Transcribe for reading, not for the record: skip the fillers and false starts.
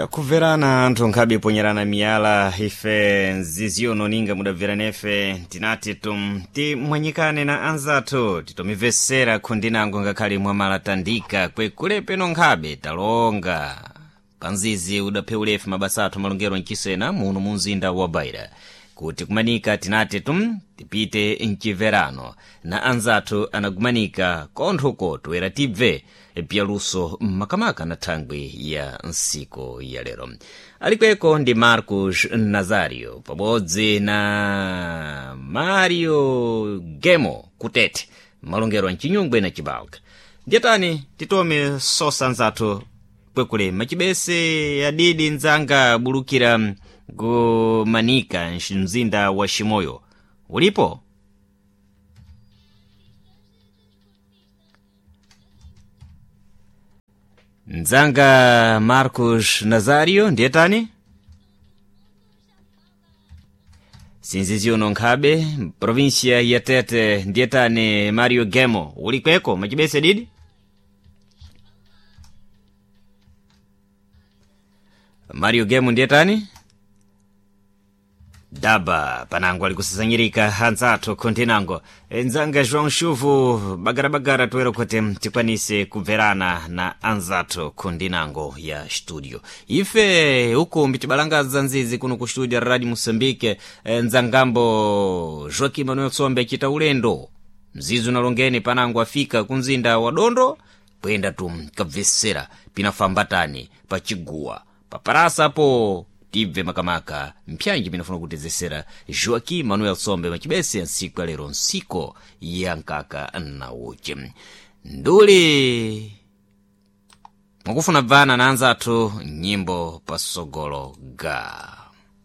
Chakumverana anthu nkhabe ponyerana miyala ife nziziyono ninga mudabvera nefe tinati tum timwanyikane na anzathu titomibvesera khundinango ngakhale mwamalatandika kwekulepeno nkhabe talonga panzizi udapheulefe mabasa athu malongero mchisena muno mu mzinda wa Beira kuti kumanika tinati tum tipite mchimverano na anzathu anagumanika konthuko toera tibve pyaluso makamaka na thangwi ya nsiku ya lero. Alikweko ndi Marcos Nazario pabodzi na Mario Gemo kutete malongero mchinyungwe na chibalka. Ndiyetani titome sosa anzathu kwekule machibese adidi nzanga bulukira kumanika mzinda wa Shimoyo. Ulipo? Nzanga Marcos Nazario ndiyetani? Sinziziuno nkhabe provinsia ya Tete ndiyetani Mario Gemo ulikweko machibese didi? Mario Gemo ndiyetani? Daba panango alikusasanyirika anzathu khuntinango nzanga João Chuvu bagarabagara toera kuti tikwanise kubverana na anzathu khundinango ya studio. Ife uku mbitibalangaza nzizi kuno ku studio Radio Moçambique, nzangambo Joaquim Manuel Tsombe achita ulendo mzizi unalongeni panango afika kumzinda wa Dondo kuyenda tum kabvesera pinafambatani pachiguwa paparasapo tibve makamaka mpyanji pinafuna kutezesera Joaquim Manuel Sombe machibese nsiku ya lero nsiko ya nkaka na uchi nduli mwakufuna bvana na anzathu nyimbo pasogolo ga.